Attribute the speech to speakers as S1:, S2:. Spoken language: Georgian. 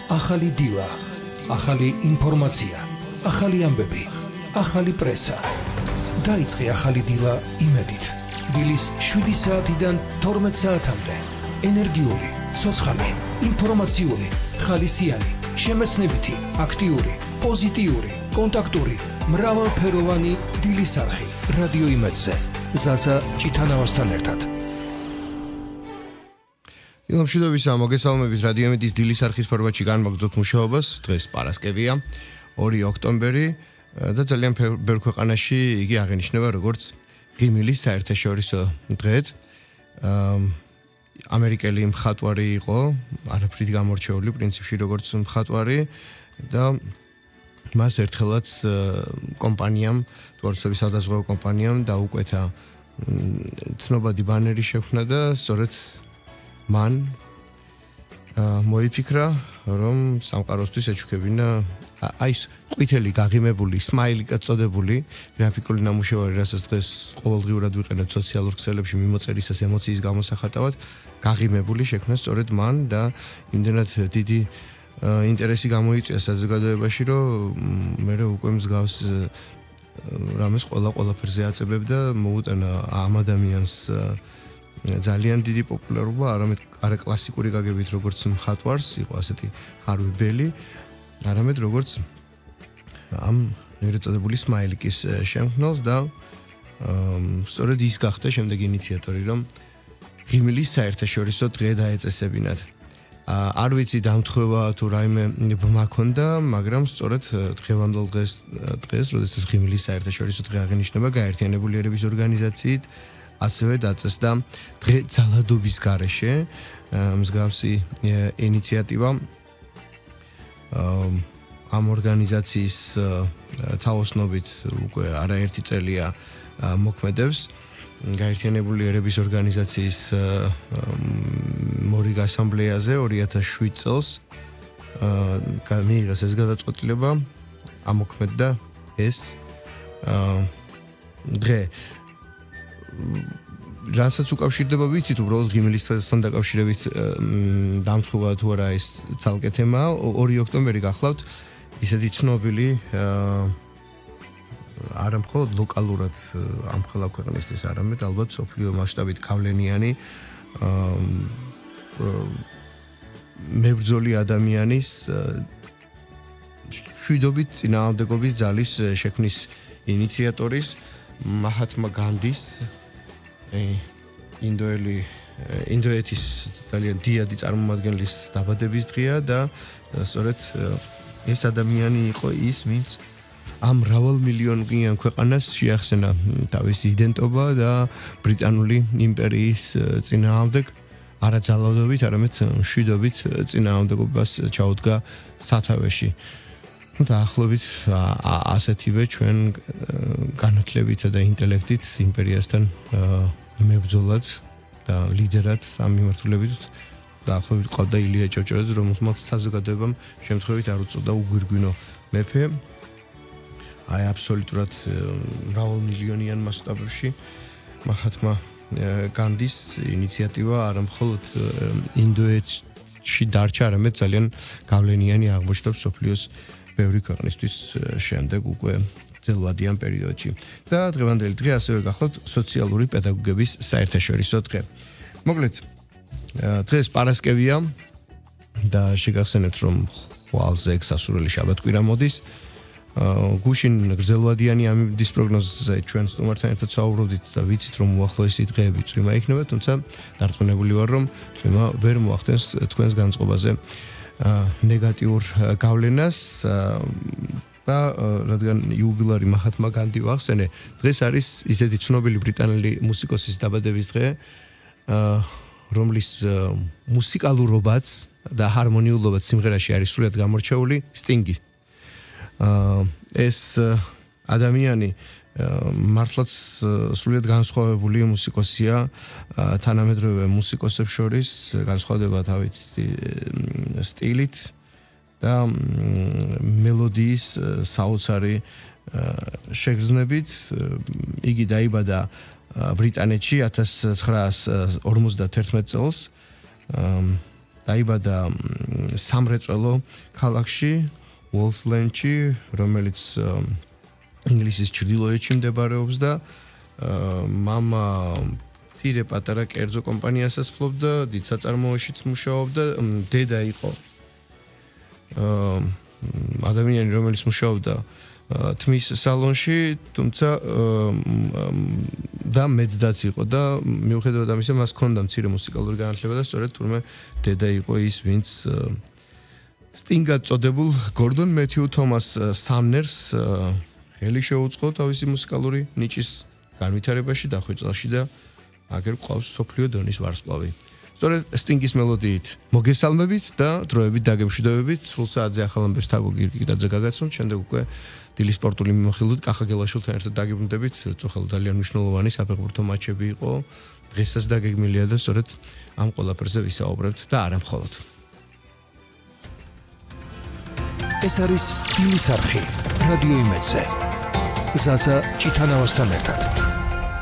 S1: ახალი დილა, ახალი ინფორმაცია, ახალი ამბები, ახალი პრესა. დაიწყე ახალი დილა იმედით. დილის 7 საათიდან 12 საათამდე. ენერგიული, ცოცხალი, ინფორმაციული, ხალისიანი, შემეცნებითი, აქტიური, პოზიტიური, კონტაქტური, მრავალფეროვანი დილის არხი. რადიო იმედზე. ზაზა ჭითანავასთან ერთად.
S2: ილამშვიდობისა, მოგესალმებით რადიო იმედის დილის არხის ფორმატში განმაგრძოთ მუშაობას. დღეს პარასკევია, 2 ოქტომბერი და ძალიან ბევრ ქვეყანაში იგი აღინიშნება როგორც ღიმილის საერთაშორისო დღედ. ამერიკელი მხატვარი იყო, არაფრით გამორჩეული პრინციპში როგორც მხატვარი და მას ერთხელაც კომპანიამ, თვალსაჩინო სადაზღვევო კომპანიამ დაუკვეთა ცნობადი ბანერი შექმნა და სწორედ მან მოიფიქრა, რომ სამყაროსთვის ეჩუქებინა ის ყვითელი გაღიმებული სმაილი კაწოდებული გრაფიკული ნამუშევარი, რასაც დღეს ყოველდღიურად ვიყენებთ სოციალურ ქსელებში მიმოწერისას ემოციის გამოსახატავად, გაღიმებული შექმნა სწორედ მან და იმდენად დიდი ინტერესი გამოიწვია საზოგადოებაში, რომ მე უკვე მსგავს რამეს ყველაფერზე აწებებდა, მოუტანა ამ ადამიანს ძალიან დიდი პოპულარობა, არა კლასიკური გაგებით როგორც მხატვარს, იყო ასეთი ხარვებელი, არამედ როგორც ამ ნერწოდებული სმაილიკის შემქმნელს და სწორედ ის გახდა შემდეგ ინიციატორი, რომ ღიმილის საერთაშორისო დღე დაეწესებინათ. არ ვიცი დამთხვევა თუ რაიმე ბმა ქონდა, მაგრამ სწორედ დღევანდელ დღეს, როდესაც ღიმილის საერთაშორისო დღე აღინიშნება გაერთიანებული ერების ორგანიზაციით, ასევე დაწესდა დღე ძალადობის გარეშე მსგავსი ინიციატივა ამ ორგანიზაციის თაოსნობით უკვე არაერთი წელია მოქმედებს. გაერთიანებული ერების ორგანიზაციის მორიგ ასამბლეაზე 2007 წელს მიიღეს ეს გადაწყვეტილება, ამოქმედდა ეს დღე. რასაც უკავშირდება ვიცით, უბრალოდ ღიმილის დღესთან დაკავშირებით დამთხოვა თუ არა ეს ცალკე თემაა. 2 ოქტომბერი გახლავთ ისეთი ცნობილი არა მხოლოდ ლოკალურად ამ ხელა ქვეყნისთვის, არამედ ალბათ სოფლიო მასშტაბით გავლენიანი მებრძოლი ადამიანის შვიდობით წინააღმდეგობის ძალის შექმნის ინიციატორის მაჰათმა განდის ინდოეთის ძალიან დიდი წარმომადგენლის დაბადების დღეა და სწორედ ეს ადამიანი იყო ის, ვინც ამ მრავალმილიონიან ქვეყანას შეახსენა თავისი იდენტობა და ბრიტანული იმპერიის წინააღმდეგ არა ძალადობით, არამედ მშვიდობით წინააღმდეგობას ჩაუდგა სათავეში. დაახლოებით ასეთივე ჩვენ განათლებით და ინტელექტით იმპერიასთან მებრძოლად და ლიდერად ამ მიმართულებით დაახლოებით ყავდა ილია ჭავჭავაძე, რომელსაც საზოგადოებამ შემთხვევით არ უწოდა უგვირგვინო მეფე. აი აბსოლუტურად მრავალმილიონიან მასშტაბებში მაჰათმა განდის ინიციატივა არა მხოლოდ ინდოეთში დარჩა, არამედ ძალიან გავლენიანი აღმოჩნდა მსოფლიოს ბევრი ქვეყნისთვის შემდეგ უკვე ძველვადიან პერიოდში. და დღევანდელი დღე ასევე გახლავთ სოციალური პედაგოგების საერთაშორისო დღე. მოკლედ, დღეს პარასკევია და შეგახსენებთ, რომ ხვალზე გასასურველი შაბათ-კვირა მოდის. გუშინ გრძელვადიანი ამის პროგნოზზე ჩვენ სტუმართან ერთად საუბრობდით და ვიცით, რომ უახლოესი დღეები წვიმა იქნება, თუმცა დარწმუნებული ვარ, რომ წვიმა ვერ მოახდენს თქვენს განწყობაზე ნეგატიურ გავლენას და რადგან იუბილარი მაჰათმა განდი ვახსენე, დღეს არის ისეთი ცნობილი ბრიტანელი მუსიკოსის დაბადების დღე, რომლის მუსიკალურობაც და ჰარმონიულობაც სიმღერაში არის სრულად გამორჩეული, სტინგი. ეს ადამიანი მართლაც სრულად განსხვავებული მუსიკოსია თანამედროვე მუსიკოსებს შორის, განსხვავდება თავის სტილით და მელოდიის საოცარი შეგრძნებით. იგი დაიბადა ბრიტანეთში 1951 წელს. დაიბადა სამრეწველო ქალაქში, Wolfslandში, რომელიც ინგლისის ჩრდილოეთში მდებარეობს და მამა ცირე პატარა კერძო კომპანიასაც ფლობდა, დიდ საწარმოოშიც მუშაობდა, დედა იყო ადამიანი, რომელიც მუშაობდა თმის სალონში, თუმცა და მეძდაც იყო და მიუხედავად ამისა მას ჰქონდა მცირე მუსიკალური განათლება და სწორედ თურმე დედა იყო ის, ვინც სტინგად წოდებულ გორდონ მეთიუ თომას სამნერს ხელი შეუწყო თავისი მუსიკალური ნიჭის განვითარებაში დახვეწილში და აგერ ყავს სოფლიო დონის ვარსკვლავი. სწორედ სტინგის მელოდიით მოგესალმებით და დროებით დაგემშვიდობებით. სულ საათზე ახალ ამბებს თაბო გირგიტაძე გაგაცნობთ, შემდეგ უკვე დილის სპორტული მიმოხილვით კახა გელაშვილთან ერთად დაგიბრუნდებით. წუხელ ძალიან მნიშვნელოვანი საფეხბურთო მატჩები იყო. დღესაც დაგეგმილია და სწორედ ამ ყველაფერზე ვისაუბრებთ და არა მხოლოდ.
S1: ეს არის დილის არხი რადიო იმედზე. ზაზა ჭიტანავასთან ერთად.